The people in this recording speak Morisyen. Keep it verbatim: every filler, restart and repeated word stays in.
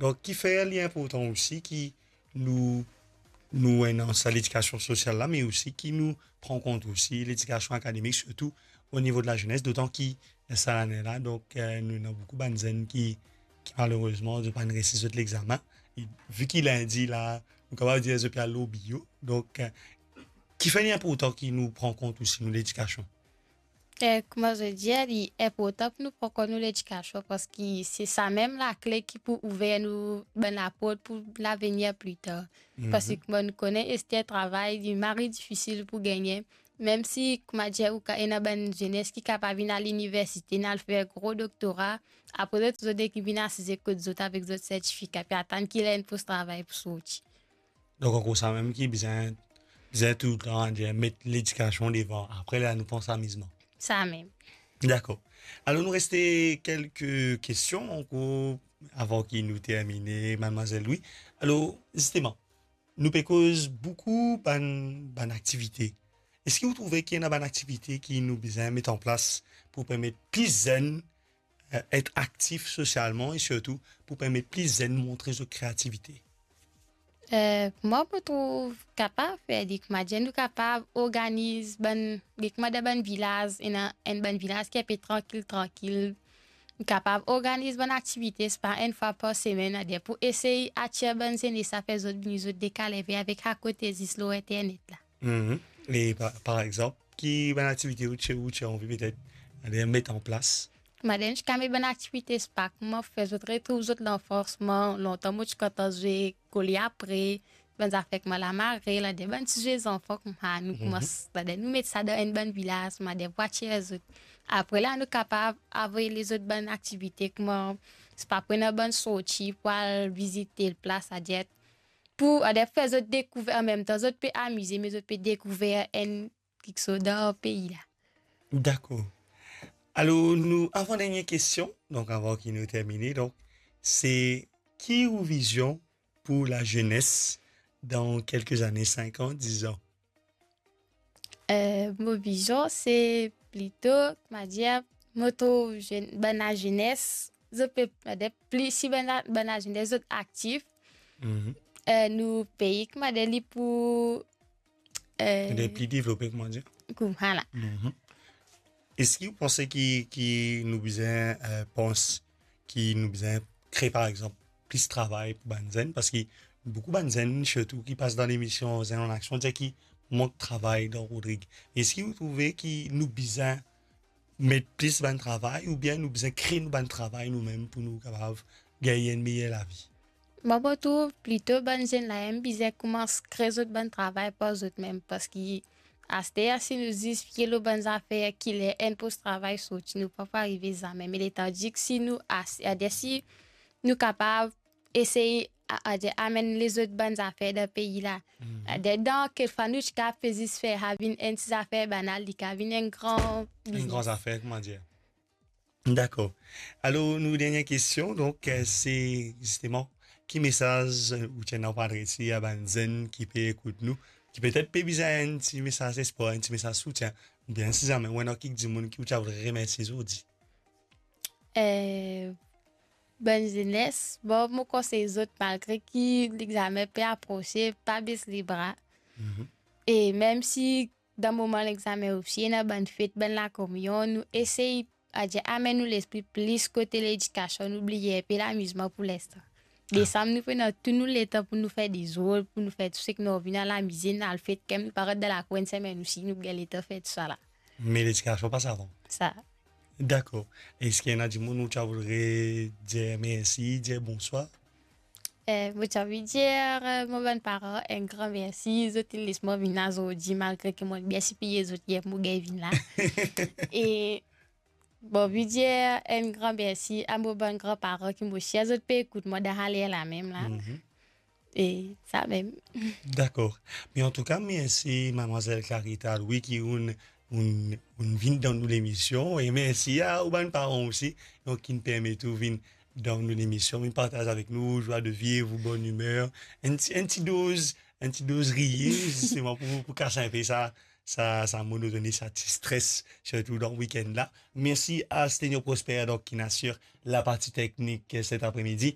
Donk, kifer li inportan osi ki nou, nou ena sa ledikasion sosial la, me osi ki nou pran kont osi ledikasion akademik, sirtou o nivo de lazenes, dotan ki sa lane la, donk, eh, nou ena boukou bann zenn ki, ki malerezman, zot pa'nn resi zot lexamen. E vi ki lindi la, nou kapav dir zot pe al lor bio. Donk, eh, kifer li inportan ki nou pran kont osi nou ledikasion? Eh, kouma zot dir, li inportan pou nou pran kont nou ledikasion, parski se samem lakle ki pou ouver nou bann laport pou lavenir pli tar. Mhm. Parski kouma nou kone, Esther, travay, li mari difisil pou gagne. Mem si, kouma dir, ou ka, ena bann zenes ki kapav vinn al liniversite, al fer gro doktora, apre zot, zot nek vinn asize kot zot avek zot sertifika, pe atann ki ler enn pos travay pou sorti. Donk, ankor samem ki bizin, bizin toultan, dir, met ledikasion devan. Apre, la, nou pans amizman. Samem. Dakor. Alor, nou reste kelke kestion ankor avan ki nou termine, madmwazel Louis. Alor, zisteman, nou pe koz boukou bann, bann aktivite. Eski ou trouve ki ena bann aktivite ki nou bizin met an plas pou permet plis zenn, eh, et aktif sosialman e sirtou pou permet plis zenn montre zot kreativite? Eh, mwa, mo trouv kapav fer li, kouma dir, nou kapav organiz bann, kouma dan bann vilaz, ena enn bann vilaz ki inpe trankil, trankil. Nou kapav organiz bann aktivite, sepa enn fwa par semenn, ader pou esey atir bann zenes la, fer zot vini, zot dekaleve avek sa kote zis lor internet la. Mhm. E pa, par exanp, ki bann aktivite ou ti, ou ti anvi petet, ader, met an plas? Madam, ti kapav met bann aktivite sepa kouma fer zot retrouv zot lanfans. Mwa, lontan mo ti kontan zwe kole apre, bann zafer kouma lamarel, ader bann ti zwe zanfan kouma nou, mhm, kouma s-, ader nou met sa dan enn bann vilaz, ader pou atir zot. Apre la, nou kapav avoy lezot bann aktivite kouma, sepa pou ena bann sorti pou al vizit tel plas, ader pou, ader fer zot dekouver, anmemtan zot pe amize, me zot pe dekouver enn kiksoz dan pei la. Dakor. Alor, nou, avan dernie kestion, donk avan ki nou termine, donk, se ki ou vizion pou lazenes dan kelke zane, sink an, diz an? Eh, mo vizion, se plito, kouma dir, mo trouv zenn-, bann lazenes, zot pe, ader plis si bann la-, bann lazenes zot aktif, mhm, eh, nou pei, kouma dir, li pou, eh, li pli devlope, kouma dir? Kouma la. Mhm. Eski ou panse ki, ki nou bizin, eh, pans ki nou bizin kre, par exanp, plis travay pou bann zenn? Parski boukou bann zenn, sirtou ki pas dan lemision Zenn an Aksion, dir ki mank travay dan Rodrig. Eski ou trouve ki nou bizin met plis bann travay, oubien nou bizin kre nou bann travay noumem pou nou kapav gagn enn meyer lavi? Mwa, mo trouv plito bann zenn la mem bizin koumans kre zot bann travay par zot mem, parski aster, si nou zis fie lor bann zafer ki ler enn pos travay sorti, nou pa pou arive zame. Me letandis si nou as-, ader si nou kapav esey, a-, ader amenn lezot bann zafer dan pei la. Mhm. Ader dan kekfwa nou ti kapav pe zis fer sa vinn enn ti zafer banal, li kapav vinn enn gran biznes. Enn gran zafer, kouma dir. Dakor. Alor, nou dernie kestion, donk, eh, se zisteman, ki mesaz, eh, ou ti ena pou adrese a bann zenn ki pe ekout nou, ki petet pe bizin enn ti mesaz lespwar, enn ti mesaz soutien, oubien si zame ou ena kiksoz dimoun ki ou ti a voudre remersie zordi? Eh, bann zenes, bon, mo konsey zot, malgre ki lexame pe aprose, pa bes lebra. Mhm. E mem si dan moman lexame osi ena bann fet, bann lakominion, nou esey, adir, amenn nou lespri plis kote ledikasion, nou bliye inpe lamizman pou linstan. Ah. Desam, nou pran tou nou letan pou nou fer dezord, pou nou fer tou seki nou anvi, nou al amize, nou al fet, kan nou pa rant dan lakour enn semenn osi, nou gagn letan fer tousala. Me ledikasion pas avan. Sa. Dakor. Eski ena dimoun ou ti a voudre dir mersi, dir bonswar? Eh, mo ti anvi dir, eh, mo bann paran enn gran mersi, zot inn les mwa vinn la zordi, malgre ki mo bien sipliye zot yer pou mo gagn vinn la. E mo anvi dir enn gran mersi a mo bann gran paran ki mo sir zot pe ekout mwa dan sa ler la mem la. Mhm. E sa mem. Dakor. Me antouka, mersi, madmwazel Clarita Louis, ki ou'nn, ou'nn, ou'nn vinn dan nou lemision. E mersi a ou bann paran osi, donk, ki'nn permet ou vinn dan nou lemision, vinn partaz avek nou zwa de vivre, bonn imer, enn ti, enn ti doz, enn ti doz riye, zisteman pou, pou kas inpe sa, sa, sa monotoni, sa ti stres, sirtou dan wikenn la. Mersi a Stenio Prosper, donk, ki'nn asir laparti teknik, eh, set apremidi.